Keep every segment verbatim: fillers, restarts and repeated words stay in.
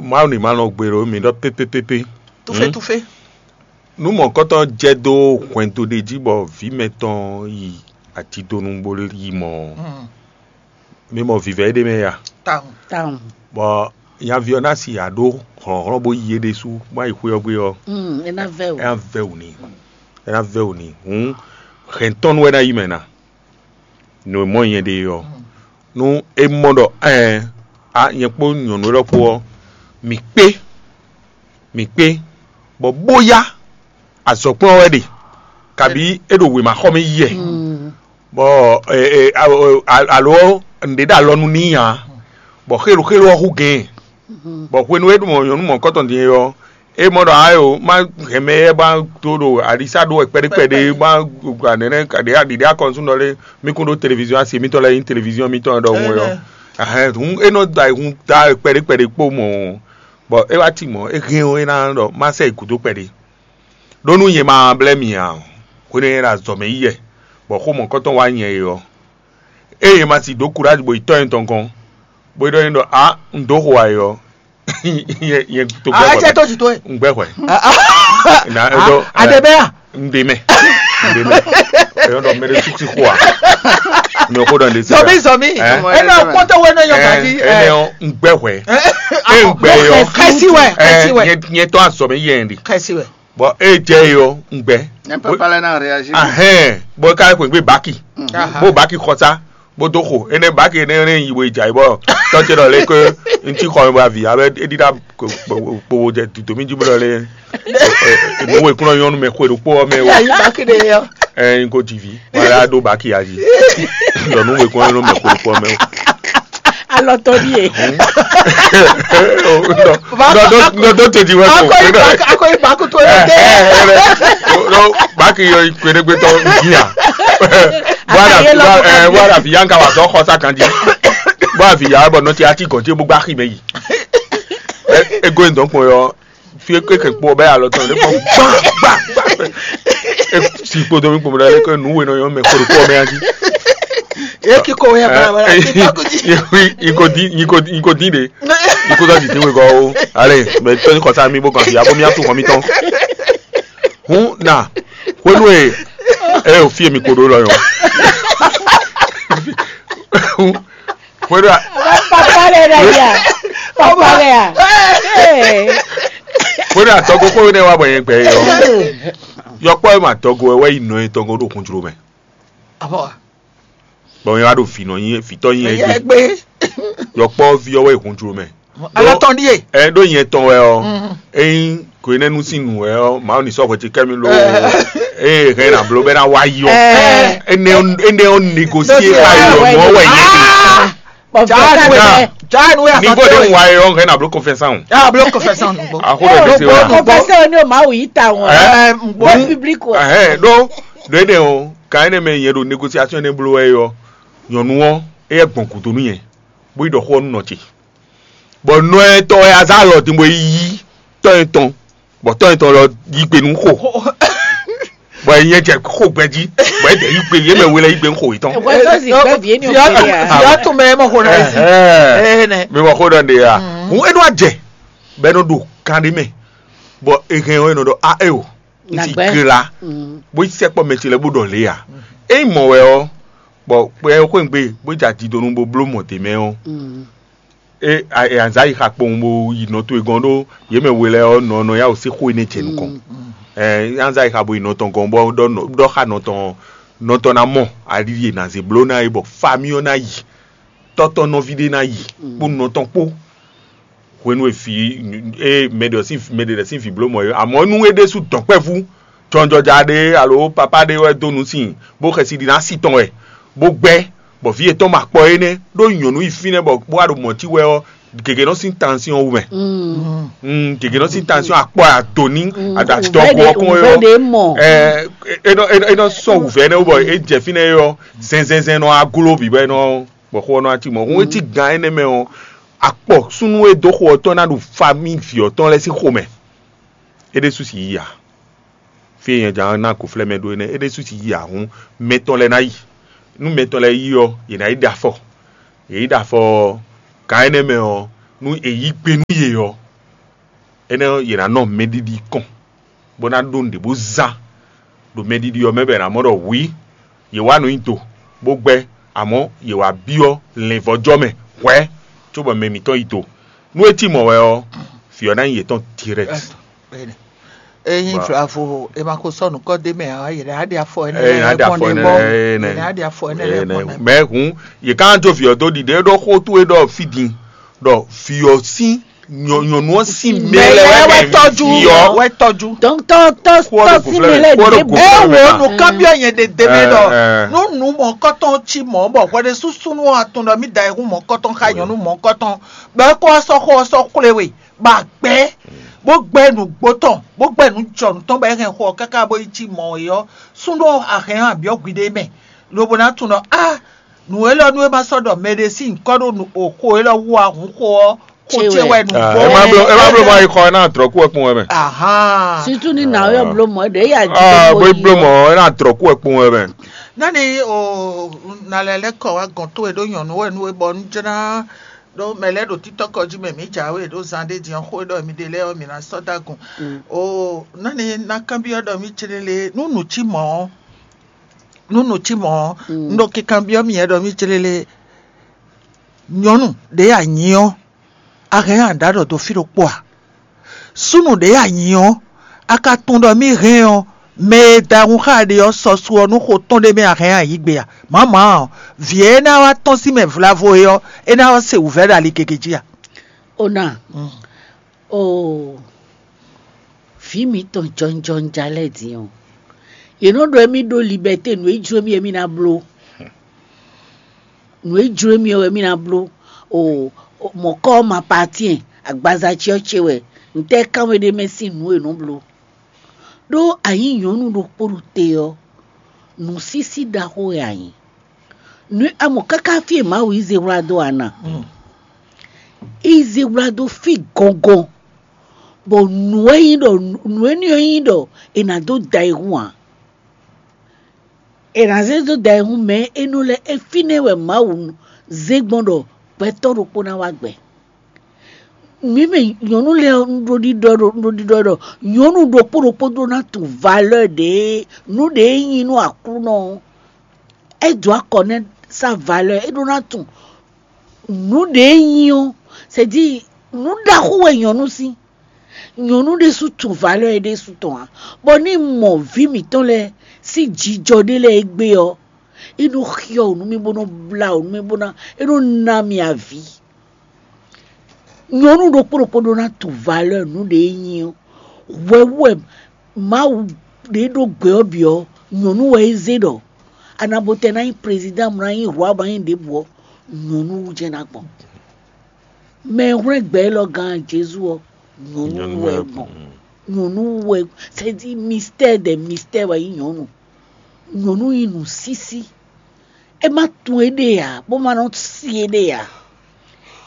Mawu ní ma nɔ gbe ɖo mǐ ɖɔ pépépépé. Tufe tufe. Nú mɔ̌kɔtɔn jɛ dó hwɛndo ɖé jí bɔ vǐ mɛtɔn yi atidonu bó yi mɔ ɔ́, mi mɔ vǐvɛ́ ɖé mɛ ya. Tawun. Tawun. Bɔ nyaví ɔ́ ná si aɖó hlɔ̌nhlɔ́n bó yi é ɖésú má yi xwé ɔ́ gbe ɔ́, Mm, e na vɛ o. É ná vɛ wǔ n'i. É ná vɛ wǔ n'i. Hǔn hɛ̌ntɔ́nu wɛ ná yi mɛ ná. Nǔ e mɔ nyɛ ɖe ɔ́, nú é mɔ ɖɔ ɛɛ a nyɛ kpó nyɔ̌nu élɔ́ kpó ɔ́, mǐ kpé, mǐ kpé, bɔ bóyá azɔ̌kplɔ́n wɛ ɖe, kabí é ɖo wěmaxɔmɛ yi wɛ, bɔ alo nǔɖé ɖo alɔ nú n'i ǎ, bɔ xéloxélo ɔ́ hú gɛ̌n, bɔ hwenu e é ɖo mɔ nyɔ̌nu mɔ̌kɔtɔn din é ɔ́, é mɔ ɖɔ ayo má hɛn mɛ éyɛ́ ba dó ɖo aɖisá ɖó wɛ kpɛɖé kpɛɖé má gba nɛnɛ ɖiɖe akɔnusúnɔ lé mí kún ɖó televiziɔn asi mítɔn lɛ́ɛ nyí televiziɔn mítɔn ɖɔhun é ɔ́. Ahɛn hǔn é nɔ da hun da kpɛɖé kpɛɖé kpó mɔ, bɔ é wá ti mɔ̌ é hɛn ɔ́ é ná ɖɔ má sɛ yi gǔdo kpɛɖé. Ɖó nú nyɛ ma blɛ́ mi ǎ, hwenu e nyɛ ɖo azɔ̌ mɛ yi wɛ, bɔ xó mɔ̌kɔtɔn wá nyɛ é ɔ́, ée nyɛ ma si dǒ kurázi bɔ yi tɔ́ nyɛ tɔn gɔ́n, bó ɖɔ n'i ɖɔ a un dǒ xo ayɔ nyɛ nyɛ to gbɛ Ah, hwɛ. Jɛ tó ti tó ye. Un gbɛ hwɛ. Na eɖɔ Adébẹ́yà. Un ɖe mɛ. Un ɖe mɛ. Eyɔn ɖɔ mɛ ɖe suku si xo a. Mi ò xo ɖɔ ɖe si. Zɔmi zɔmi. Ɛ? Ena kpɔtɔ wɛ ne yɔ gadi. Ene ɔ un gbɛ hwɛ. E un gbɛ yɔ. Kɛsi wɛ kɛsi wɛ. Nyɛ nyɛ tɔ azɔ mi yɛ ɛn di. Kɛsi wɛ. Bɔn e jɛ yi ɔ un gbɛ. Nyɛ papa lɛ na réagir. Ahɛn bɔn e ka yɛ kpɛn gbé baki. Bó baki xɔsa. Bó dó xo énɛ́ baki énɛ́ énɛ́ yi we jǎ yi bɔ tɔ́ ce ɖɔ lé ké ŋutí xɔ mi bɔ avi abɛ é ɖíɖá kpowó jɛ dǐdó mì jí bó ɖɔ lé nǔwe kúnɔ nyɔ́nu mɛ xwe ɖokpó ɔ́ mɛ o. Ayi baki ɖe yɔ. Ɛ n ko dzi vi wala ɖó baki ayi ɖɔ nǔwe kúnɔ nyɔ́nu mɛ xwe ɖokpó ɔ́ mɛ o. Alɔtɔ ɖíe. Nɔ tó ti wɛ kó. Akɔyi baku tó yɛ dɛ. Baki yɔ kpeɖegbetɔ bia. Wala wala fi yanka wa dɔ xɔ sa kan di. Bɔ afi ya bɔ nɔti ati gɔnje bó gba xi mɛ yi. Ego in dɔn kpɔn yɔ fi eke kɛ kpɔ bɛ alɔ tɔn ne kpɔ gba gba gba. Si kpodo mi kpɔmɔ ɖe ke nu we nɔ yɔ mɛ kpɔdo kpɔ mɛ adi. Eki ko ya bla bla. Iko di iko di iko di de. Iko da di te we gɔ o. Ale mɛ tɔn kɔ sa mi bo kan fi abo mi atu kɔ mi tɔn. Hun na hwenu e e o fie mi koɖo lɔ yɔ. Hwenu a Papa lɛ ɖe ya. Papa lɛ ya. Ee. Hwenu a tɔgbo kpɔ́ ne wa bɔ yẹn gbɛ yɔ. Yɔkpɔ ma tɔgbo wɛ yi nɔ ye tɔgbo ɖo kun jlo mɛ. Abɔ. Bɔn yẹn wa ɖo fi nɔ yin fi tɔ yin Yɛ egbe. Gbe. Yɔkpɔ vi ɔwɔ yi kun jlo mɛ. Alɔ tɔn ɖi ye. Ɛ ɖo yẹn tɔn wɛ ɔ. Eyin ko ne nu sin nu wɛ ɔ ma ni sɔ hwɛ ti kɛ mi lo. Eye hɛn na blo bɛ na wa yi ɔ. Ene ene ɔ négocie ka yi ɔ nɔ wɛ yi. Bɔn Jaa fɛn nu kan wɛ. Jaa nu ya Ni sɔ ko de tɛ. Wa yi ɔ hɛn na blo confession. Ya blo confession nu gbɔ. A ko de se wa. Confession ni o ma wu yi ta wọn. Ɛ Gbɔ public wa. Ɛhɛn ɖo ɖo ene o kan ene mɛ yɛn ɖo négociation ne blo wɛ yɔ nyɔnu ɔ eyɛ gbɔn kudo nu yɛn bó yi ɖɔ xɔ nu nɔ ce. Bɔn nɔ etɔn wɛ azá lɔ din bó yi tɔ etɔn bɔ tɔ etɔn lɔ yi gbe nu xo. Bɔn nyɛ jɛ xo gbɛ jí bɔn e dɛ yi gbe yé mɛ wele yi gbe nu xo yitɔn. Wọ́n tó sì gbẹ́ bìí ní òkè yà. Yàtò mẹ́ mọ̀ kó náà yìí. Ẹhẹn. Ẹhẹn. Mi mọ̀ kó dɔn de ya. Hun enu ajɛ bɛ no ɖo kan ɖe mɛ bɔ ehɛn ɔ enɔ ɖɔ a e o n ti Nàgbẹ́. Gla bó sɛkpɔ mɛ ce lɛ bó ɖɔ lé ya. Eyi mɔ wɛ ɔ bɔ kpɛ xwéǹgbé bó jɛ adidonu bó bló mɔ dě mɛ ɔ e azǎ yi xa kpowun bó yi nɔ towe gɔn ɖó yě mɛ we lɛ ɔ nɔ nɔ ya wò sí xó énɛ́ jɛ nukɔn. Ɛ azǎ yi xa bó yi nɔ tɔn gɔn bɔ ɖɔ nɔ- ɖɔ xa nɔ tɔn nɔ tɔn ná mɔ ali e nà zě bló ná é bɔ fami ɔ́ ná yi tɔ́tɔ́ nɔví ɖé ná yi kpó nɔ tɔn kpó. Hwenu e vǐ e mɛ ɖe sín mɛ ɖe lɛ́ sín vǐ bló mɔ̌ é, amɔ̌ nú é ɖésú dɔ̌nkpɛvú jɔnjɔja ɖé alo papá ɖé wɛ dó nǔ sin bó xɛsi ɖi ná sí tɔn wɛ, bó gbɛ́, bɔ vǐ yětɔn ma kpɔ énɛ́ ɖó nyɔ̌nu yi fínɛ́ bɔ bó wá ɖo mɔ̌ cí wɛ ɔ́, gěgé nɔ sín tansyɔ́n wú mɛ. Mm, gěgé nɔ sín tansyɔ́n akpɔ adoni aɖatɔgo ɔkɔn é ɔ́, ɛ, é nɔ é nɔ- é nɔ sɔn wǔvɛ́ nɛ́ wú bɔ é jɛ fínɛ́ é ɔ́, zɛnzɛnzɛn nɔ aglo bǐ bɔ é nɔ bɔ xó ɔ́ nɔ cí mɔ̌. Hún e cí gan énɛ́ mɛ ɔ́, akpɔ súnnu e dó xo ɔ́ tɔn ná ɖu famí vǐ ɔ́ tɔn lɛ́ɛ sín xomɛ. É ɖésú sì yí ǎ. Fí e nyɛ jǎ ná gǒflɛ́ mɛ ɖó énɛ́, é ɖésú sì yí ǎ. Hún mɛ tɔn lɛ́ɛ ná yi. Nú mɛ tɔn lɛ́ɛ yi ɔ́, yě ná yi ɖe afɔ. Yě yi ɖe afɔ ɔ́, gan énɛ́ mɛ ɔ́, nú è yí gbe nú yě ɔ́, énɛ́ ɔ́, yě ná nɔ mɛɖiɖi kɔn, bó ná ɖó nǔɖé bó zán ɖo mɛɖiɖi ɔ́ mɛ bɔ è nǎ mɔ ɖɔ hwǐ, yě wá nǔ nyi do, bó gbɛ́, amɔ̌ yě wá byɔ́ lɛ̌nvɔ́jɔ́ mɛ hwɛ̌, cóbɔ mɛ mǐtɔn yi do. Nú é cí mɔ̌ wɛ ɔ́, vǐ ɔ́ ná nyí yětɔn dirɛ́kt. Ényí vlavo è ma ko sɔ́ nǔkɔ d'é mɛ ǎ, yě ná ɖe afɔ énɛ́ Eye lɛ́ɛ ná ɖe gbɔn afɔ ɖe énɛ́ gbɔ. Lɛ́ɛ Yě énɛ́. Ná ɖe afɔ énɛ́ lɛ́ɛ gbɔn ɖe gbɔ. Mɛ hǔn, yě ká jó vǐ ɔ́ dó ɖiɖe ɖó xó towe ɖɔ fí din, ɖɔ vǐ ɔ́ sín nyɔ- nyɔ̌nu ɔ́ sín mɛ Mɛ lɛ́ɛ lɛ́ɛ wɛ wɛ tɔ́jú, vǐ ɔ́. Wɛ tɔ́jú. Donc tɔ tɔ Kó ɔ́ tɔ ɖo si gǔflɛ́ mɛ mɛ, lɛ kó ɔ́ ɖo ɖě gǔflɛ́ Ɛ mɛ. Wo nǔkanbyɔ́ nyɛ ɖe ɖe mɛ ɖɔ Ɛ, ɛ. Nú nǔ mɔ̌kɔtɔn cí mɔ̌ bɔ hwɛɖésúsúnú ɔ́ tunwun ɖɔ mì da ayihún mɔ̌kɔtɔn xá nyɔ̌nu mɔ̌kɔtɔn, bɔ é kó wá sɔ́ xó ɔ́ sɔ́ xwlé we, bɔ a gbɛ́, bó gbɛ́ nǔgbó tɔn, bó gbɛ́ nǔjɔnǔ tɔn bɔ é hɛn xó ɔ́ káká bó yi cí mɔ̌ é ɔ́, súnnu ɔ́ a hɛn ɔ́ a byɔ́ hwi ɖé mɛ, lobo ná tunwun ɖɔ á nǔ élɔ́ nú é ma sɔ́ ɖɔ mɛɖé sín nyǐkɔ ɖo nǔ o xó élɔ́ wú ǎ hǔn xó ɔ́ xó Cé ce wɛ. Wɛ nǔgbó. Ah, ema blo ema blo ma yi xɔ ena drɔku wɛ kpɔn wɛ mɛ. Ahán. Surtout ni na yɔ blo mɔ ɖe ya di Ah, ko bo yi blo mɔ ena drɔku wɛ kpɔn wɛ mɛ. Nani o na lɛ lɛ kɔ wa gɔn to e ɖo nyɔnu wɛ nu e bɔ nu jɛna ɖo mɛ lɛ ɖo titɔ kɔ ji mɛ mi ja we ɖo zan ɖe diɔ xo ɖɔ mi ɖe lɛ ɔ mi na sɔ dagun. O nani na kanbiɔ ɖɔ mi cele le nu nu ci mɔ nu nu ci mɔ nu ɖo kikanbiɔ mi yɛ ɖɔ mi cele le nyɔnu ɖe ya nyi ɔ a hɛn a ɖa ɖɔ do fi ɖokpó a? Súnnu ɖě a nyǐ ɔ́, a ka tunwun ɖɔ mì hɛn ɔ́, mɛ e da hun xá ɖe ɔ́ sɔ su ɔ́ nú xo tɔn ɖé mɛ a hɛn a yǐ gbe a? Mǎmǎ ɔ́, vǐ e é ná wá tɔ́n sín mɛ vlavo é ɔ́, é ná wá se wǔvɛ́ ɖo ali gěgé jí a? Ona, oo, vǐ mitɔn jɔnjɔn ja lɛ́ɛ din ɔ́, yě nɔ ɖɔ émí ɖó libɛ́te nǔ e jló mì é mì ná bló. Nǔ e jló mì ɔ́ wɛ mì ná bló. O, o, mɔ̌kɔ́ ma patyɛn agbaza ce ɔ́ ce wɛ ntɛ́ kánwé ɖé mɛ sín nǔ e nǔ bló. Ɖó a nyǐ nyɔ̌nu ɖokpó ɖo te ɔ́, nǔsísí ɖaxó wɛ a nyǐ. Nǔ a mɔ káká fí e Mawu yí zehwlá dó a na? Yí zehwlá dó fí gɔngɔn, bɔ nǔ e nyí ɖɔ nǔ énɛ́ ɔ́ nyí ɖɔ è nǎ dó da ayihún ǎ. È nǎ zé dó da ayihún mɛ e nɔ lɛ́ é fínɛ́ wɛ Mawu zé gbɔn ɖɔ gbɛtɔ́ ɖokpó ná wá gbɛ. Mǐ mɛ nyɔ̌nu lɛ́ɛ ɔ́, un ɖo ɖiɖɔ ɖo un ɖo ɖiɖɔ ɖɔ nyɔ̌nu ɖokpó ɖokpó ɖó ná tunwun valeur ɖě nǔ ɖě e nyí nú Aklúnɔ ɔ́. É dǒ akɔ nɛ́ sá valeur é ɖó ná tunwun nǔ ɖě e nyí ɔ́, c'est-à-dire nǔ ɖaxó wɛ nyɔ̌nu sín. Nyɔ̌nu ɖésú tunwun valeur é ɖésú tɔn ǎ, bɔ ní mɔ vǐ mǐtɔn lɛ́ɛ sín jijɔ ɖé lɛ́ɛ égbé ɔ́, é nɔ xyɔ wǔ nú mì bó nɔ blá wǔ nú mì bó ná é nɔ ná mì avǐ. Nyɔ̌nu ɖokpó ɖokpó ɖó ná tunwun valeur nǔ ɖě é nyí ɔ́. Hwɛ wú wɛ Mawu ɖě ɖó gbɛ ɔ́ bǐ ɔ́, nyɔ̌nu wɛ é zé ɖɔ anabotɛ ná nyí président, ná nyí rwa, ná nyí ɖěbǔ ɔ́, nyɔ̌nu wú jɛ́n ná gbɔn. Mɛ e hwlɛ́n gbɛ élɔ́ gán Jezu ɔ́, nyɔ̌nu wú wɛ é gbɔn. Nyɔ̌nu wú wɛ, c'est-à-dire mystère des mystères wɛ nyí nyɔ̌nu. Nyɔ̌nu nyí nǔsísí. É má tunwun éɖée ǎ, bó má nɔ si éɖée ǎ.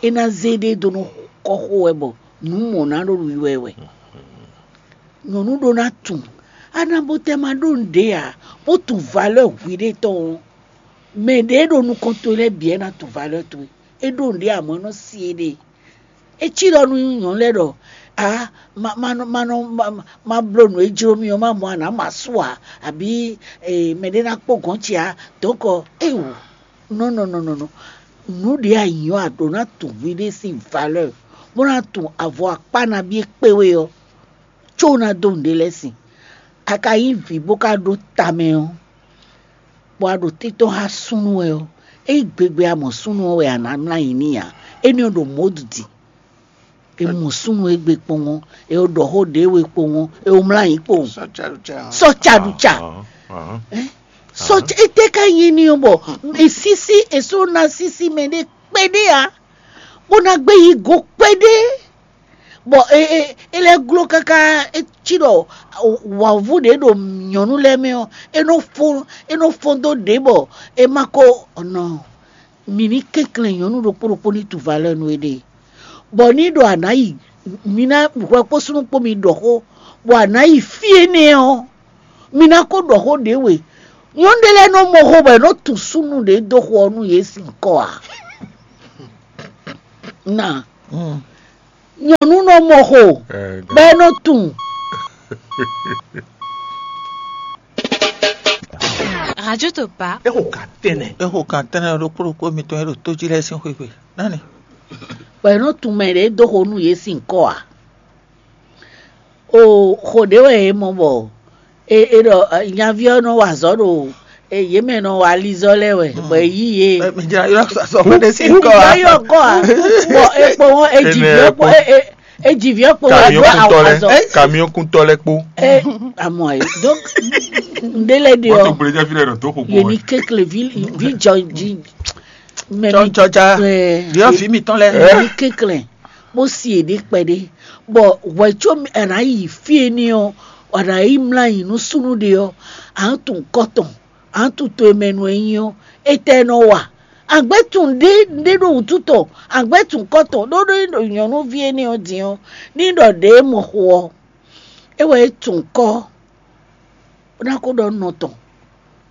É ná zé éɖée dó nú kɔ́xo wɛ bɔ nǔ mɔ̌ ná ɖo wiwa ɛ wɛ. Nyɔ̌nu ɖó ná tunwun. Anabotɛ ma ɖó nǔɖé ǎ, bó tunwun valeur hwiɖée tɔn ɔ́, mɛ ɖě e ɖo nukɔn towe lɛ́ɛ bǐ wɛ ná tunwun valeur towe. É ɖó nǔɖé ǎ, mɔ̌ é nɔ si éɖée. É cí ɖɔ nú nyɔ̌nu lɛ́ɛ ɖɔ ǎ, ma ma nɔ ma nɔ ma- ma bló nǔ e jló mì ɔ́, ma mɔ a nǎ ma sú ǎ, abǐ eh, mɛɖé ná kpó gɔ̌n ce ǎ. Donc éwo nɔ nɔ nɔ nɔ nɔ nǔ ɖě a nyǐ ɔ́, a ɖǒ ná tunwun hwiɖée sín valeur, bó ná tunwun avɔ akpá nabí e kpé we ɔ́, có ná dó nǔɖé lɛ́ɛ sin. A ka nyí vǐ bó ka ɖó tamɛ ɔ́, bɔ a ɖo títɔ́n xá súnnu wɛ ɔ́, ényí gbegbe a mɔ súnnu ɔ́ wɛ a nǎ mlá nyi n'i ǎ, énɛ́ ɔ́ ɖo mɔ̌ ɖi. È mɔ súnnu e gbe kpowun, è ɖɔ xó ɖě we kpowun, è mlá nyi kpowun. Sɔ caɖuca. Sɔ ca ɖu ca. Sɔ ca ete ka nyi ni ɔ́ bɔ è sísí è só ná sísí mɛ ɖé kpɛɖé ǎ, bó ná gbé yi go kpɛɖé. Bɔ è è è lɛ́ gló káká é cí ɖɔ wǎvú ɖě ɖo nyɔ̌nu lɛ́ɛ mɛ ɔ́, é nɔ fó é nɔ fó dó ɖě bɔ è ma ko nɔ mǐ ní kɛnklɛ́n nyɔ̌nu ɖokpó ɖokpó ní tu valeur nú éɖée. Bɔ ní ɖɔ a nǎ yi mi ná hwɛ kpó súnnu kpó mi ɖɔ xó, bɔ a nǎ yi fí énɛ́ ɔ́, mi ná ko ɖɔ xó ɖě we. Nyɔ̌nu ɖé lɛ́ɛ nɔ mɔ xó bɔ è nɔ tunwun súnnu ɖě dó xo ɔ́ nú yě sín kɔ ǎ. Na Nyɔ̌nu nɔ mɔ xo, bɔ é nɔ tunwun. Radio Topa. É xo kan tɛnɛ. É xo kan tɛnɛ ɖokpó ɖokpó mitɔn e ɖo tó jí lɛ́ɛ sín xwé gbe. Nani? Bɔ é nɔ tunwun mɛ ɖě dó xo nú yě sín kɔ ǎ. O xo ɖě wɛ è mɔ bɔ è è ɖɔ nyaví ɔ́ nɔ wa azɔ̌ ɖo yě mɛ nɔ wa alizɔ́ lɛ́ɛ wɛ bɔ è yí yě. Mɛ jra yɔ sɔ xɔ ɖe sí kɔ a. Yɔ kɔ a. Bɔ è kpɔ́n wọn è jì vǐ ɔ́ kpɔ́n è jì vǐ ɔ́ kpɔ́n wọn. Kamiɔ́kuntɔ lɛ́ kamiɔ́kuntɔ lɛ́ kpó. Ɛ amɔ ayi donc ŋɖé lɛ ɖe ɔ. Wọ́n tó gbélé jẹ́ fílẹ̀ rẹ̀ tó kókó. Yé ní kékeré vi vi jɔ jí. Mɛ mi jɔjɔja. Ɖiɔ vi mitɔn lɛ. Yé ní kékeré. Bó si è ɖě kpɛɖé, bɔ hwɛ̌ có è nǎ yi fí énɛ́ ɔ́, a nǎ yi mlá nyi nú súnnu ɖé ɔ́, a nǎ tunwun kɔ́ tɔn, a nǎ tunwun to e mɛ nu e nyí ɔ́, étɛ́ nɔ wa? Àgbɛ́ tunwun ɖé ɖé ɖo wǔtu tɔn, àgbɛ́ tunwun kɔ́ tɔn, ɖó ɖó é ɖo nyɔ̌nuví énɛ́ ɔ́ din ɔ́, ní ɖɔ ɖě e mɔ xo ɔ́, é wɛ é tunwun kɔ́. Bó ná kó ɖɔ nɔ tɔn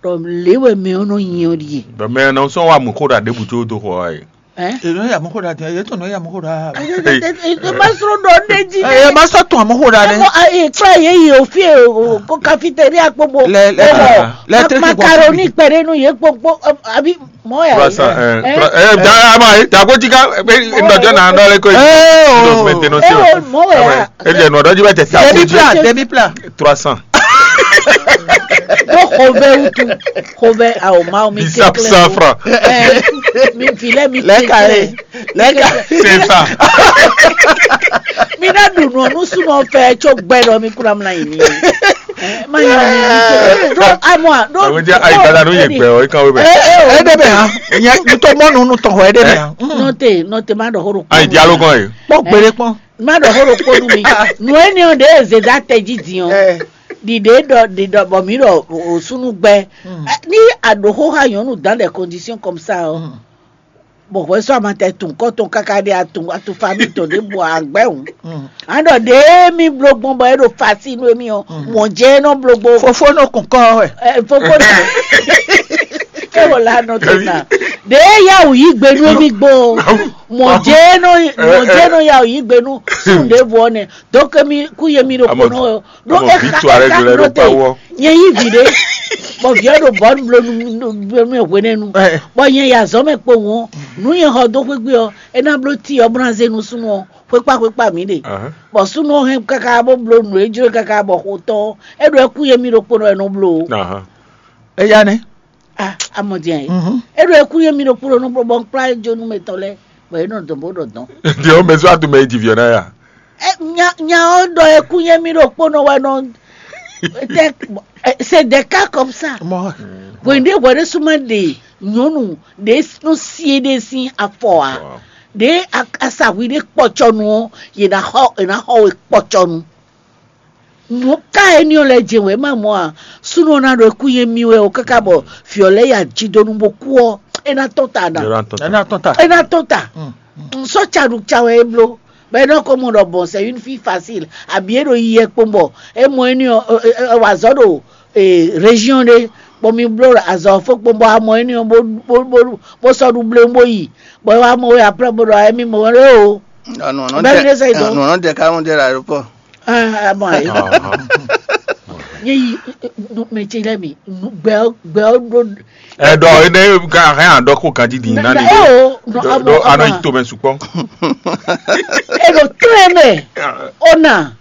ɖɔ lě wɛ mɛ ɔ́ nɔ nyi ɔ́ ɖíe. Bɔ mɛ ɔ́ nɔ sɔ́ wa mǔ xó ɖa ɖěbǔ có dó xɔ wá e. Ɛ? Èló yà mú xó ɖa tɛ, yé tɔn nɔ yà mú xó ɖa. Ɛ má sɔ́ ɖɔ ɖé jí. Ɛ má sɔ́ tún àmú xó ɖa nɛ. Ɛ kúrò yé yi òfin kó cafetéria kpókpó. Lɛ lɛ lɛ tẹ́lẹ̀ kí n kọ́ macaroni pɛrɛ nu yé kpókpó àbí mɔ yà. Trois cents, ɛ, trois- ɛ, da- ama ye, da ko jika, ɛ, ɛ, ndɔjɔ na dɔ le ko. Ɛ o. Maintenance. Ɛ o mɔ wɛ ya. E jɛ nɔ dɔji bɛ jɛ ta ko Demi ji. Pla, demi pla. Trois cents. Ɖó xovɛ wutu, xovɛ ao Mawu mi. Dix-sept cents francs. Ɛ, mi vi lɛ mi Lɛ ka kékeré. Ye. Lɛ ka. C'est ça. Mi ná ɖu nɔ nú súnmọ́ fẹ́ tso gbɛ ɖɔ mi kúrò amúna yìí ni. Ɛ, má yà ni mi tó. Ɖó amɔ ɖó. Àwọn jẹ́ àyípadà ló yẹ pẹ́ ọ̀, ìkàwé bẹ̀. Ɛ ɛ o. Ɛ dɛ bɛ yan. Nyɛ ntɔ mɔnu nu tɔn hɔ ɛ dɛ bɛ yan. Nɔte nɔte má ɖɔ horo. Ayi dialogue ɔn ye. Kpɔ gbére kpɔn. Má ɖɔ xó ɖokpó nú mi. Nǔ énɛ́ ɔ́ ɖě e zědá tɛjí din ɔ́, ɖiɖě ɖɔ ɖiɖɔ bɔ mǐ ɖɔ òsúnú gbɛ. Ní a ɖǒ xó xá nyɔ̌nu dans des conditions comme ça ɔ́, bɔ hwɛ sɔ́ a ma tɛ tun kɔ́ tɔn káká ɖé a tun a tun famille tɔn ɖěbǔ a gbɛ́ hǔn. A ɖɔ ɖě mì bló gbɔn bɔ é ɖo fasi nú émí ɔ́, mɔ̌ jɛ é nɔ bló gbó. Fofó nɔ kun kɔ wɛ. Ɛ, fofó nɔ. É wò la nɔ tó na. Ɖě yá wò yí gbe nú émí gbó. Mɔ̌ jɛ é nɔ mɔ̌ jɛ é nɔ yá wò yí gbe nú sún ɖěvo ɔ́ nɛ. Dɔke mi kú yé mi ɖo kpo nɔ ɔ. Ɖó é xa é xa nɔ te. Nyɛ yí vi ɖé. Bɔ viɛ ɖo bɔ nu blo nu blo nu hwenɛnu. Bɔ nyɛ ya zɔn mɛ kpo ŋu. Nu nyɛ xɔ dó xwégbé ɔ, é ná bló ti ɔ bó ná zé nu súnnu ɔ xwékpá xwékpá mǐ ɖe. Bɔ súnnu ɔ hɛn káká bó bló nǔ e jló káká bɔ xo tɔn ɔ́, é ɖo é kú yé mi ɖokpónɔ wɛ nɔ bló. Eya nɛ. Ah, amɔdian yi. É ɖo é kú yé mi ɖokpónɔ nɔ bló bɔ un kplá é jó nú mɛ tɔn lɛ́ɛ, bɔ é nɔ dɔn bó ɖɔ dɔn. Diɔ mɛ zɔ atu mɛ yi ji viɔ na ya. Nya nya ɔ́ ɖɔ é kú yé mi ɖokpónɔ wɛ nɔ. C'est des cas comme ça. Hwɛ̌nɖé hwɛ̌ɖé súnmọ́ ɖe nyɔ̌nu ɖě nɔ sí éɖée sín afɔ ǎ. Ɖě asahwi ɖé kpɔcɔnu ɔ́, yě ná xɔ yě ná xɔ we kpɔcɔnu. Nǔ ká éní ɔ́ lɛ́ jɛ wɛ má mɔ a? Súnnu ɔ́ ná ɖo kú yé mì wɛ o káká bɔ vǐ ɔ́ lɛ́ ya jí dó nú bó kú ɔ́, é ná tɔ́n ta ná. Ɛ ná tɔ́n ta. É ná tɔ́n ta. Sɔ́ caɖu ca wɛ é bló. Bɔ é nɔ ko mɔ ɖɔ bon, c'est une fille facile. Abǐ é ɖo yi yɛ kpɔn bɔ é mɔ éní ɔ́, é wá azɔ̌ ɖo région ɖé, bɔ mi bló azɔ̌ fó kpɔn bɔ a mɔ éní ɔ́ bó bó bó bó sɔ́ ɖu bléwún bó yi, bɔ é wá mɔ wɛ après bó ɖɔ émí mɔ wɛ ɖé o. Bɛ́ mi ɖé sɛ yi dɔn. Nɔnɔ dɛ ká ŋu dɛ la ɖokpɔ. Ah, ah, bon, ayi. Nye yi mɛ ce lɛ mi gbɛ gbɛ ɖo. Ɛdɔ ene ka hɛn adɔ ko kan didi na ni. Ɛ o, no, do ano ito mɛ sukpɔ. Eɖo trɛn mɛ. Ona.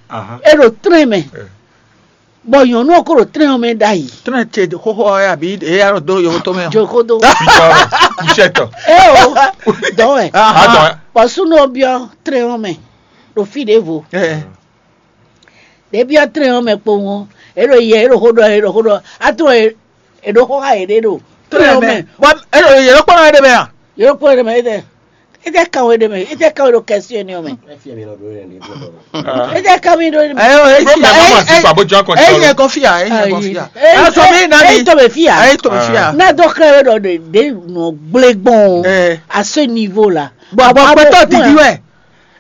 Eɖo trɛn mɛ. Bɔ nyɔnu ɔkɔ ɖo trɛn mɛ ɖayi. Trɛn ce xoxo ya bi e ya ɖo do yovo to mɛ. Jokodo. Kushɛtɔ. Ɛ o. Dɔwɛ. Adɔ. Bɔ sunu obiɔ trɛn mɛ. Ɖo fi ɖevo. Ɖebi ɔ́ tlɛn ɔ́ mɛ kpowun ɔ́, é ɖo yɛ é ɖo xó ɖɔ é ɖo xó ɖɔ ato é ɖo xó xá yě ɖé ɖo tlɛn ɔ́ mɛ. Bɔ é ɖo yě ɖo kpɔ́n ɛ ɖé mɛ a? Yě ɖo kpɔ́n ɛ ɖé mɛ é tɛ é tɛ kan wé ɖé mɛ é tɛ kan wé ɖo kɛsí ɛni ɔ́ mɛ. É tɛ kan mi ɖó ɖé mɛ. Ɛ ɛ ɛ ɛ ɛ kɔ fia ɛ ɛ kɔ fia. Ɛ sɔ mi na mi. Ɛ tɔ bɛ fia. Ɛ tɔ bɛ fia. N'a dɔ kɛ wé ɖɔ ɖe ɖe nɔ gblé gbɔn à ce niveau là. Bɔn bɔn pɛtɔ didi wɛ.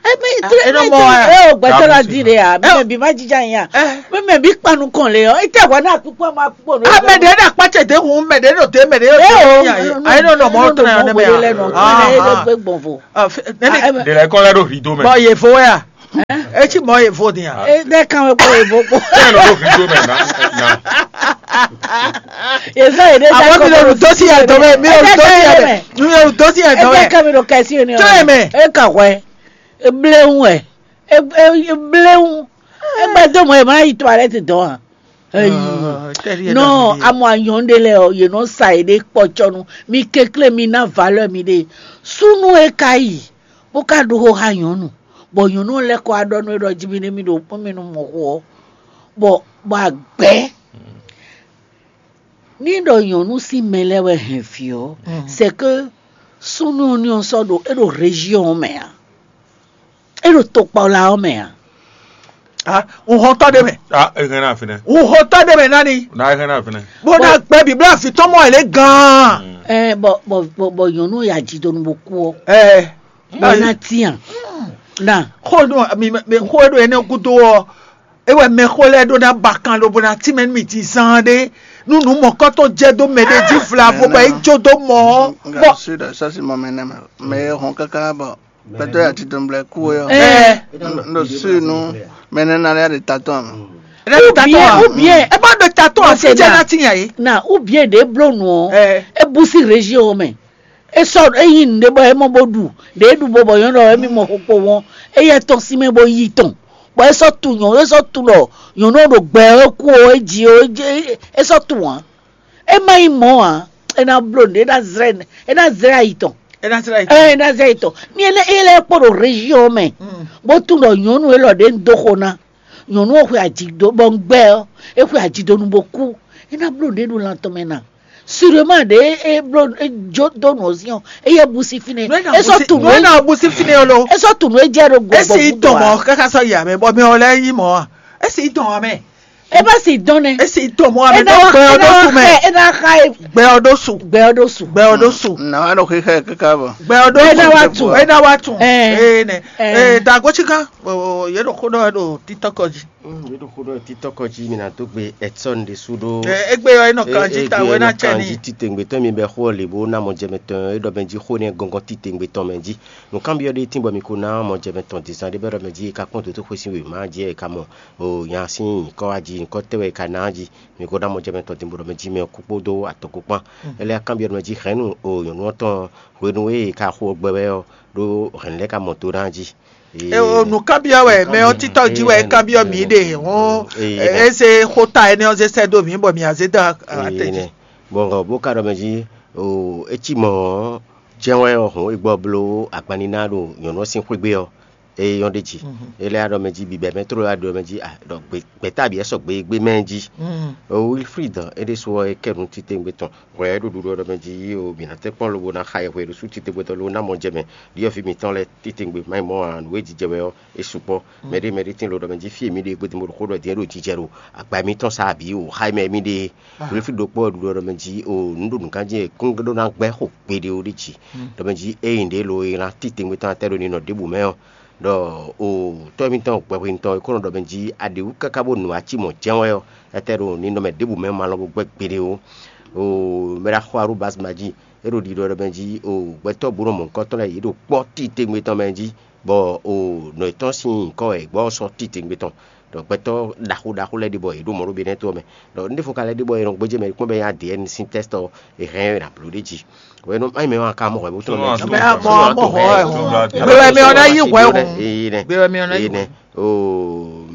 Ebe Ah, e nɔ mɔ ɛ. E o gbɛtɔ la di de ya. Mɛ bi ma jija nya. Mɛ mɛ bi kpanu kɔn le ɔ. Ite wa na kpikpɔ ma kpikpɔ no. Ame ɖe ɖe akpatse ɖe hun mɛ ɖe ɖo te mɛ ɖe ɖo te. Ayi nɔ nɔ mɔ tɔn ya ne mɛ ya. Nɔ gbɔn vo. Nɛni. Ɖe lɛ kɔ lɛ ɖo hli do mɛ. Bɔ yevo ya. Etsi mɔ yevo di ya. E ɖe kan wɛ kpɔ yevo kpɔ. Tɛ nɔ ɖo hli do mɛ na na. Yesa yi ɖe. Àwọn mi lè rù tó sí ẹ̀dọ́ mẹ́, mi lè rù tó sí ẹ̀dọ́ mẹ́, mi lè rù tó sí ẹ̀dọ́ mẹ́. Ẹ jẹ́ kẹ́mi ló kẹ́ sí ẹni Tó yẹ mẹ́. E ka hwẹ́. E bléwún ɛ. E e e bléwún. E gbɛ dó mɔ ɛ má yi toilette dɔn a. Eyi. Nɔ amɔ anyɔn ɖe lɛ ɔ, yě nɔ sa yě ɖe kpɔtsɔnu. Mi kéklé mi ná valeur mi ɖe. Súnú e ka yi, bó ka ɖó xó xá nyɔ̌nu, bɔ nyɔ̌nu lɛ́ kɔ wá ɖɔ nú é ɖɔ jí mi ní mi ɖo kpɔ́n mi nú mɔ xó ɔ́, bɔ bɔ agbɛ̌. Ní ɖɔ nyɔ̌nu sín mɛ lɛ́ɛ wɛ hɛn vǐ ɔ́, c'est que súnnu ɔ́ ní ɔ́ sɔ́ ɖo é ɖo région ɔ́ mɛ ǎ, é ɖo tokpɔla ɔ́ mɛ ǎ. Ah, un hɔn tɔ́ ɖé mɛ. Ah, e hɛn na fínɛ. Un hɔn tɔ́ ɖé mɛ nani. Na e hɛn na fínɛ. Bó ná gbɛ bíblá fi tɔn mɔ ɛ lé gan. Ɛ bɔ bɔ bɔ bɔ nyɔ̌nu ya jí donu bó kú ɔ́. Ɛ. Bɔ ná tiyan. Na. Xó ɖo mi mi xó ɖo énɛ́ gúdo ɔ́. É wɛ mɛxó lɛ́ɛ ɖó ná ba kan lobo ná tínmɛ nú mì din zaan ɖé. Nú nǔ mɔ̌kɔ́tɔn jɛ dó mɛ ɖé jí vlavo bɔ é jó dó mɔ ɔ́. Bɔ. Sɔ́ si mɔ mɛ nɛ́ mɛ. Mɛ e hɔn káká bɔ. Gbɛtɔ́ ya titun blɛ kú ɔ́. Ɛ. Ɖo si nu mɛ nɛ na lɛ ɖe tatɔn mɛ. Ou bien, ou bien, ɛ má ɖo tatɔn a fi jɛ na ti nya yi. Na ou bien ɖe bló nu ɔ. Ɛ. E bu si région mɛ. E sɔ e yi nu ɖe bɔ e mɔ bo ɖu. Ɖe e ɖu bo bɔ yɔn ɖɔ e mi mɔ xokpo wɔn. E yɛ tɔn si mɛ bo yi tɔn. Bɔ e sɔ tu nyɔnu, e sɔ tu ɖɔ nyɔnu ɖo gbɛ e kú o, e ji o, e ji e sɔ tu wɔn. E ma nyí mɔ̌ ǎ, é ná bló nǔɖé, é ná zlɛ́ é ná zlɛ́ ayi tɔn. É ná zlɛ́ ayi tɔn. Ɛ é ná zlɛ́ ayi tɔn. Ní é lɛ́ é lɛ́ kpó ɖo région mɛ, bó tunwun ɖɔ nyɔ̌nu élɔ́ ɖě un dó xo ná. Nyɔ̌nu ɔ́ xwe aji dó bɔ un gbɛ́ ɔ́, é xwe aji dó nu bó kú. É ná bló nǔɖé ɖo lan tɔn mɛ ná. Sûrement ɖě é bló é jó dó nǔ ɔ́ sín ɔ́, é yɛ bu sí fínɛ́. É sɔ́ tu nǔ é ná bu sí fínɛ́ ɔ́ lo. É sɔ́ tu nǔ é jɛ ɖo gbɔ̌. É sì tɔn mɔ̌ káká sɔ́ yi amɛ bɔ mɛ ɔ́ lɛ́ nyí mɔ̌ a? É sì tɔn amɛ. É bá sì dɔn nɛ. É sì tɔn mɔ̌ amɛ. Dɔn gbɛ ɔ́ ɖó su mɛ. É ná xa é. Gbɛ ɔ́ ɖó su. Gbɛ ɔ́ ɖó su. Gbɛ ɔ́ ɖó su. Nà wá ɖo xixɛ kíkà bɔ. Gbɛ ɔ́ ɖó su. É ná wá tu. É ná wá tu. Ee nɛ. Ee dagɔtsi kan. Yɛ ɖo xó ɖɔ ɖo titɔkɔ jí. Yɛ ɖo xó ɖɔ titɔkɔ jí mi na dó gbe Edson ɖésú ɖó. Egbe ɔ́ é nɔ kan jí ta wɛ ná cɛ ní. Titewungbe tɔn mi bɛ xó ɔ́ lě bó ná mɔ jɛmɛ tɔn é ɖɔ mɛ jí xó nɛ gɔngɔn titewungbe tɔn mɛ jí. Nǔkanbyɔ́ ɖé tín bɔ mi ko ná mɔ jɛmɛ tɔn dǐzan ɖé bɔ é ɖɔ mɛ jí é ka kpɔ́n dǒtó xwé sín wěma jí é ka mɔ. O nya sín nyǐkɔ wá jí, nyǐkɔ tɛ́ wɛ è ka ná jí? Mi ko ná mɔ jɛ mɛ tɔn din bó ɖɔ mɛ jí mɛ ɔ́ kú kpódó atɔn kpó kpán. É lɛ́ kanbyɔ́ mɛ jí hɛ̌nnu o nyɔ̌nu ɔ́ tɔn hwenu e è ka xo gbɛ wɛ ɔ́, ɖó hɛ̌nnu lɛ́ɛ ka mɔ do ná jí. Nǔkanbyɔ́ wɛ mɛ ɔ́ títɔ́ jí wɛ é kanbyɔ́ mǐ ɖe hɔn. É zé xóta énɛ́ ɔ́ zé sɛ́ dó mǐ bɔ mǐ a zé dó atɛ jí. Bɔn bó ka ɖɔ mɛ jí o é cí mɔ̌ ɔ́, jɛ́n wɛ ɔ́ hɔn é gbɔ bló agbanníná ɖo nyɔ̌nu ɔ́ sín xwé gbe ɔ́, é nyɔ́ ɖ'é jí. É lɛ́ wá ɖɔ mɛ jí bibɛ mɛ tló wá ɖɔ mɛ jí, ah, ɖɔ gbě- gbɛ̌ta bǐ wɛ sɔgbe gbé mɛ jí. O Wilfrid, é ɖésú ɔ́, é kɛ nú titewungbe tɔn hwɛ é ɖo ɖuɖu ɔ́ ɖɔ mɛ jí o mǐ ná tɛ́ kpɔ́n lobo ná xa ɛ hwe ɖo sú titewungbe tɔn lobo ná mɔ jɛ mɛ ɖyɔ̌vǐ mǐtɔn lɛ́ɛ titewungbe má nyí mɔ̌ ǎ, nǔ e jijɛ wɛ ɔ́, é sukpɔ́. Mɛɖé mɛɖé tín lo ɖɔ mɛ jí fí e mǐ ɖe gbedun bo ɖo xó ɖɔ din é ɖo jijɛ ɖo agba mǐtɔn sa bǐ o xa mɛ mǐ ɖe. Wilfrid ɖokpó ɔ́ ɖuɖu ɔ́ ɖɔ mɛ jí o nǔ ɖo nǔkan jí e kún ɖó ná gbɛ́ xo gbeɖé ó ɖi jí. Ɖɔ mɛ jí ényí ɖě lo e ná titewungbe tɔn atɛ ɖo ninɔ ɖěbǔ mɛ ɔ́, ɖɔ o tɔ́ mǐtɔn gbɛhwenu tɔn e kó nɔ ɖɔ mɛ jí a ɖě wú káká bó nu ací mɔ̌ jɛ́n wɛ ɔ́, etɛ ɖo ninɔmɛ ɖěbǔ mɛ ma lɔn bó gbɛ́ gbeɖé ó. O mɛ ɖo axɔ arúbas ma jí, é ɖo ɖiɖɔ ɖɔ mɛ jí o gbɛtɔ́ bó nɔ mɔ nukɔn tɔn lɛ́ɛ yě ɖo kpɔ́ titewungbe tɔn mɛ jí, bɔ o nɔ yětɔn sín nyǐkɔ wɛ è gbɔ ɔ́ sɔ́ titewungbe tɔn. Ɖɔ gbɛtɔ́ ɖaxó ɖaxó lɛ́ɛ ɖé bɔ yě ɖo mɔ ɖó Benɛ́ɛ to ɔ́ mɛ. Ɖɔ un ɖěvo ka lɛ́ ɖe bɔ è nɔ gbéjé mɛ ɖokpɔ́n bɔ é nyí A D N sín tɛ́st ɔ́, è hɛn ɛ nǎ bló ɖ'é jí. Hwenu ényí mɛ ɔ́ ka mɔ hwɛ bó tlɔ́n mɛ jí. Mɛ a mɔ a mɔ hwɛ hɔn. Gbe wɛ mɛ ɔ́ ná yí hwɛ hɔn. Gbe wɛ mɛ ɔ́ ná yí hwɛ. Nɛ o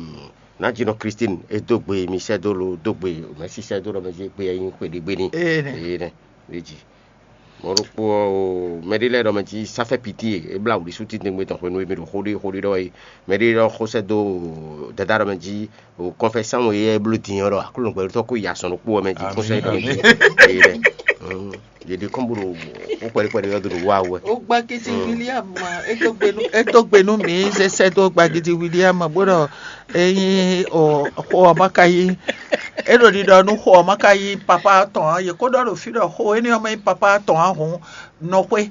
Nǎjínɔ Christine e dó gbe mi sɛ́ dó lo dó gbe mɛ sísɛ́ dó ɖɔ mɛ jí gbe ɛ nyí xwe ɖé gbe ní. Ee nɛ. Ee nɛ. Ɖé jí. Mɔ̌ ɖokpó ɔ́, o mɛ ɖé lɛ́ɛ ɖɔ mɛ jí sáfɛ́ piti e é blá wǔɖí sú títɛngbé tɔn hwenu e mì ɖo xó ɖé xó ɖé ɖɔ é. Mɛ ɖé ɖɔ xó sɛ́ dó dada ɖɔ mɛ jí o kɔnfɛsánmu e é bló din ɔ́ ɖɔ Aklúnɔ gbɛɖótɔ́ kó yi azɔn ɖokpó ɔ́ mɛ jí kó sɛ́ ɖɔ é. Yě ɖi kɔn bó ɖo kpɛɖikpɛɖi ɔ́ ɖo wa wɛ. Ó gbá gidi William ma, é dó gbe nú é dó gbe nú mǐ sɛsɛ dó gbá gidi William ma bó ɖɔ ényí o xó ɔ́ ma ka yí é ɖo ɖiɖɔ nú xó ɔ́ ma ka yí papa tɔn ǎ, yě kó ɖɔ ɖo fí ɖɔ xó énɛ́ ɔ́ ma nyí papa tɔn ǎ hǔn nɔ xwé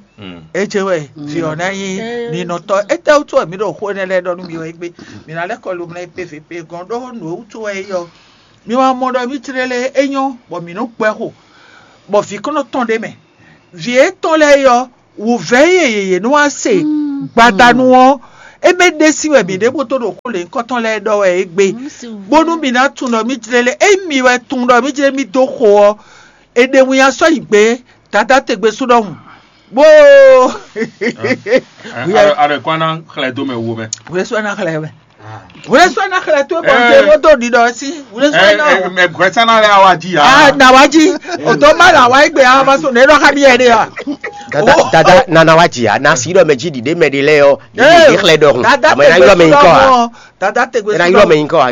é jɛ wɛ vǐ ɔ́ ná nyí ninɔtɔ́. Étɛ́ wútu wɛ mǐ ɖo xó énɛ́ lɛ́ɛ ɖɔ nú mi ɔ́ égbé? Mǐ ná lɛ́ kɔ lomlɛ P V P gɔ́n ɖó nǔ e wútu wɛ é yí ɔ́, mi wá mɔ ɖɔ mǐ jlé lé é nyɔ́ bɔ mǐ nɔ́ gbɛ́ xo, bɔ vǐ kɔn nɔ tɔn ɖ'é mɛ. Vǐ étɔn lɛ́ɛ é ɔ́, wǔvɛ́ e yě nɔ wá se gbadanu ɔ́, é mɛ ɖésí wɛ mǐ ɖe bó dó ɖo xó lěhunkɔtɔn lɛ́ɛ ɖɔ wɛ é gbe, bónú mǐ ná tunwun ɖɔ mǐ jlé lé. Ényí mi wɛ tunwun ɖɔ mǐ jlé mì dó xo ɔ́, è ɖe winnyá sɔ́ yi gbě Dadá tegbe sú ɖɔhun. Bó Are kwana xlɛ dó mɛ wo mɛ. Wúlé sɔ́ ná xlɛ mɛ. Wúlé sɔ́ ná xlɛ tó bɔ ṣe wó dó ɖiɖɔ sí. Wúlé sɔ́ ná o. Mɛ gbɛsánná lɛ awa jí ya. Ah, na wá jí. O tó má là wá gbé a ma sùn nínú ká bí ẹ dé wa. Dada dada nana wa jì ya na si ɖɔ mɛ jí ɖiɖe mɛ ɖe lɛ yɔ ɖiɖe xlɛ ɖɔhun Dada àmọ́ ɛna yɔ mɛ nyikɔ wa. Dada tegbe Ɛna yɔ mɛ nyikɔ wa.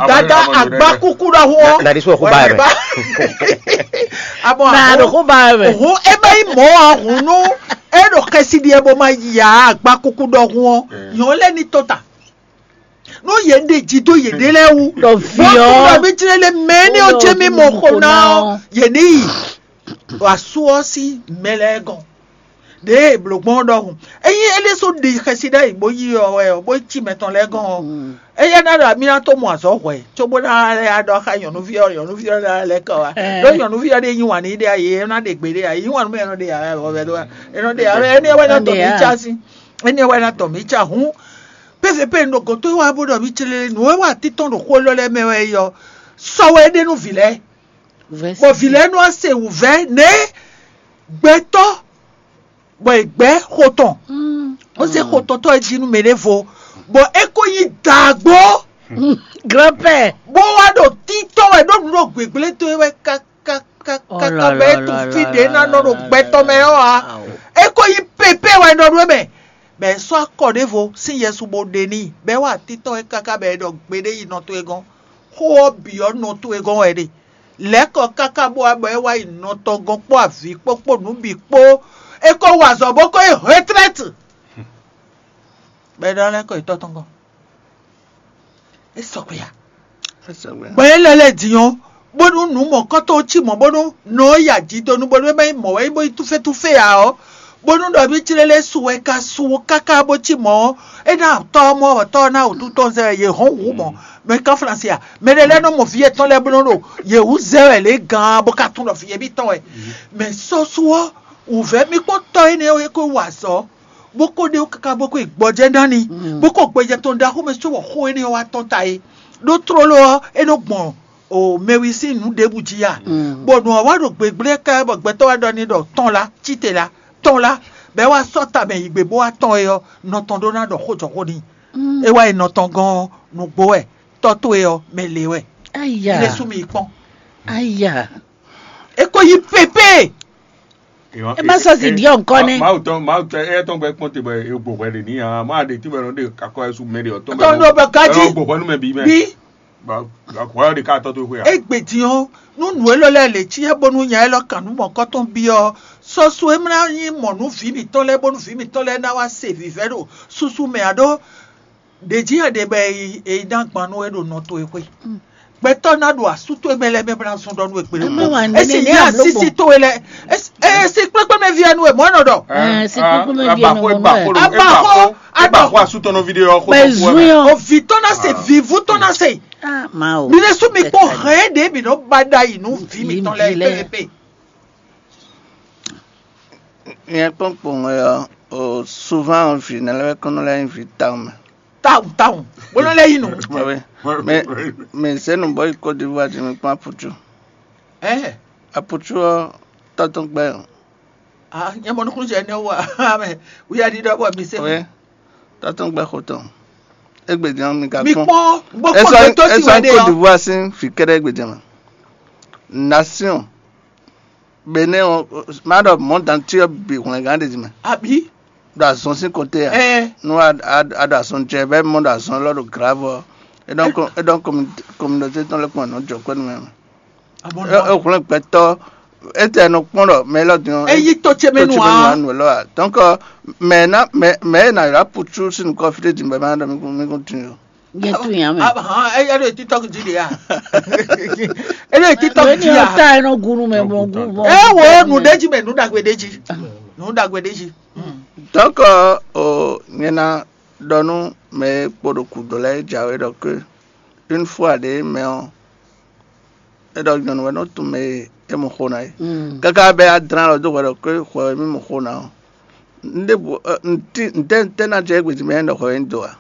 Dada agba kuku ɖɔhun. Na de sɔ xó ba yɛ mɛ. Abɔ na do xó ba yɛ mɛ. Hun ebe yi mɔ wa hun nu. E ɖo xɛsi ɖi ebo ma ya agba kuku ɖɔhun ɔ. Yɔn lɛ ni to ta. Nú yě ɖe jí dó yěɖée lɛ́ɛ wú. Ɖɔ vǐ ɔ́. Bɔ mi jlé lé mɛ ní ɔ́ jẹ́ mí mɔ xo ná ɔ́, yě ní yi. Asú ɔ́ sín mɛ lɛ́ɛ gɔn. Ɖěe blǒgbɔn ɔ́ ɖɔhun. Ényí é ɖésú ɖi xɛsi ɖ'ayǐ bó yí ɔ wɛ ɔ́, bó cí mɛ tɔn lɛ́ɛ gɔn ɔ́, éyɛ́ ná ɖɔ mí ná tó mɔ azɔ̌ hwɛ̌, cóbó ná lɛ́ ɖɔ xá nyɔ̌nuví ɔ́, nyɔ̌nuví ɔ́ ná lɛ́ kɔ wá. Ɖó nyɔ̌nuví ɔ́ ɖe yí wǎn n'i ɖe ǎ, yě ná ɖe gbe ɖe ǎ, yí wǎn nú mɛ ɔ́ ɖe ǎ, wɛ ɖó ǎ. É nɔ ɖe ǎ, énɛ́ wɛ ná tɔ mǐ cá sín. Énɛ́ wɛ ná tɔ mǐ cá hǔn. Pɛ́fɛ́pɛ́ un ɖo gǒ towe wá bó ɖɔ mǐ clé nǔ e wa títɔn ɖo xó élɔ́ lɛ́ɛ mɛ wɛ é ɔ́, sɔ́ wɛ é ɖe nú vǐ lɛ́ɛ. Bɔ vǐ lɛ́ɛ nɔ wá se wǔvɛ́ nɛ̌ gbɛtɔ́ bɔ è gbɛ̌ xo tɔn, bó zé xo tɔn tɔ́ é jí nú mɛɖěvo, bɔ é ko nyí daagbó. Grand-père. Bó wá ɖo títɔ́ wɛ ɖó nǔ ɖo gběgblé towe wɛ káká káká bɔ é tunwun fí ɖě ná nɔ ɖo gbɛtɔ́ mɛ ɔ́ ǎ. É ko nyí pépé wɛ nɔ ɖó mɛ, bɔ è sɔ́ akɔ ɖěvo sín yɛsu bó ɖe n'i, bɔ é wá títɔ́ wɛ káká bɔ è ɖɔ gbeɖé yi nɔ towe gɔ́n. Xó ɔ́ bǐ ɔ́ nɔ towe gɔ́n wɛ ɖe. Lɛ̌ kɔ káká bó wá bɔ é wá yi nɔ tɔn gɔ́n kpó avǐ kpó kpó nǔ bǐ kpó. É ko wa azɔ̌ bó ko yi retraite. Bɔ é ɖɔ lɛ́ kɔ yi tɔ́ tɔn gɔ́n. É sɔgbe a? Gbɔn é lɛ́ lɛ́ din ɔ́, bónú nǔ mɔ̌kɔ́tɔn cí mɔ̌ bónú nɔ ɔ́ ya jǐ donu bónú é má nyí mɔ̌ wɛ nyí bó nyí túfétúfé ǎ ɔ́, bónú ɖɔ mì jlé lɛ́ su wɛ ka su káká bó cí mɔ̌ ɔ́, é ná tɔ́ ɔ́ mɔ bɔ tɔ́ ɔ́ ná wǔtu tɔn zɛ wɛ yě hɔn wǔ mɔ̌. Mɛ ká Flasi a? Mɛ ɖé lɛ́ɛ nɔ mɔ vǐ yětɔn lɛ́ɛ bó nɔ ɖo yě wú zɛ wɛ lě gán bó ka tunwun ɖɔ vǐ yěbí tɔn wɛ. Mɛ sɔ́ su ɔ́, wǔvɛ́ mì kpɔ́n tɔ́ énɛ́ ɔ́ é ko wa azɔ̌, bó ko ɖe wú káká bó ko yi gbɔjɛ́ ná ni, bó ko gbɔjɛ́ tɔn ɖaxó mɛ cóbɔ xó énɛ́ ɔ́ wá tɔ́n ta é. Ɖó tlóló ɔ́, é nɔ gbɔn o mɛwi sín nǔ ɖěbǔ jí a? Bɔ nǔ ɔ́ wá ɖo gběgblé ká bɔ gbɛtɔ́ wá ɖɔ n'i ɖɔ tɔn lá, cíte lá, tɔn lá, bɔ é wá sɔ́ tamɛ yi gbe bó wá tɔn é ɔ́, nɔ tɔn ɖó ná ɖɔ xó jɔ xó n'i. É wá yi nɔ tɔn gɔ́n ɔ́, nǔgbó wɛ, tɔ́ towe ɔ́, mɛ lě wɛ. Aya. Ilé sú mi yi kpɔ́n. Aya. É ko yí pépé. É má sɔ si diɔ nkɔ nɛ. Mawu tɔn mawu tɔn ɛ tɔn gbɛ kpɔn te bɔ e gbɔ hwɛ de ni ya ma de ti bɔ ɛnɔ de kakɔ ɛsu mɛ de ɔtɔn Tɔn ɖo bɛ ká jí. Ɛnɔ gbɔ hwɛ nu mɛ bi mɛ. Bí Akɔ hwɛ de ká tɔ to hwe ya. Egbe din ɔ́, nú nǔ élɔ́ lɛ́ɛ lě cyá bónú nya élɔ́ kan nú mɔ̌kɔ́tɔn byɔ́ ɔ́, sɔ́ sú é mlá nyí mɔ̌ nú vǐ mǐtɔn lɛ́ɛ bónú vǐ mǐtɔn lɛ́ɛ ná wá se vǐvɛ́ ɖo súsú mɛ ǎ ɖó ɖě jí wɛ ɖe bɔ è yi ná gban nú we ɖo nɔ towe xwé. Gbɛtɔ́ ná ɖo asú towe mɛ lɛ́ɛ mɛ bó ná zɔn ɖɔ nú we kpéɖé kpó. É sì nyí asísí towe lɛ́ɛ. É sì kplékpé mɛ ví ɛnu e mɔ̌ nɔ ɖɔ. Abaxo abaxo abaxo asutɔnɔ video yɔ xo. Mɛ zun yɔ. Ovi tɔn na se, vivu tɔn na se. Mi ɖésú mi kpó hɛn ɖě mi nɔ ba ɖa yi nú vi mi tɔn lɛ pépépé. Nyɛ kpɔ́n kpɔ́n ɔ́, souvent vǐ nɛ́ lɛ́ɛ wɛ kɔn nɔ lɛ́ nyí vǐ tawun mɛ. Tawun tawun, bó nɔ lɛ́ yí nǔ. Mɛ mɛ zé nǔ bɔ yi Côte d'Ivoire din mi kpɔ́n aputu. Aputu ɔ́ tɔ́tɔn gbɛ. Ah, nyɛ mɔ nukúnnú jɛ ne wa mɛ wíyá ɖiɖɔ bɔ mi se. Ɔyɛ, tɔtɔn gbɛ xotɔn. Egbe din mi ka kpɔn. Mi kpɔn bó kpɔn gbɛtɔ si wɛ de yɔ. Esɔ Côte d'Ivoire sin fi kɛɖɛ egbe din mɛ. Nation Benin ɔ, ma ɖɔ monde entier bi hwlɛngán ɖe din mɛ. Abi. Ɖo azɔn sin côté ya. Ɛɛ. Nu a a a ɖo azɔn jɛ bɛ mɔ ɖo azɔn lɔ ɖo grave ɔ. E dɔn ko e dɔn communauté tɔn lɛ kpɔn nɔ jɔ kpɛ nu mɛ. Abɔ E e hwlɛn gbɛtɔ Étɛ́ nɔ kpɔ́n ɖɔ mɛ élɔ́ din ɔ́, Eyi tó ce mɛ nu mɛ a? Nu lɔ a? Donc mɛ ná mɛ mɛ e ná ylɔ́ apu sú sín nukɔn fí ɖé din bɔ é má ɖɔ mí kún mí kún tunwun ó. Yɛ tu yàn mɛ. Ahan, eyi ɖo TikTok dzi ɖe ya. Eɖo TikTok Lónìí dzi ya. Ọ̀tá ẹ̀ nɔ gunu mɛ mɔ gun mɔ. Ẹ wo nu ɖe dzi mɛ nu ɖagbe ɖe dzi. Nu ɖagbe ɖe dzi. Donc o nyɛ ná ɖɔ nú mɛ e kpo ɖo gǔdo lɛ́ɛ jǎwe ɖɔ que une fois ɖě mɛ ɔ́ é ɖɔ nyɔ̌nu wɛ nɔ tunwun mɛ e é mɔ xó ná é. Káká bɛ́ adrán lɔ dó hwɛ ɖɔ que hwɛ wɛ mí mɔ xó ná ɔ́, un ɖěbǔ ntɛ́ ntɛ́ ná jɛ égbé jí mɛ é ɖɔ hwɛ wɛ un do ǎ.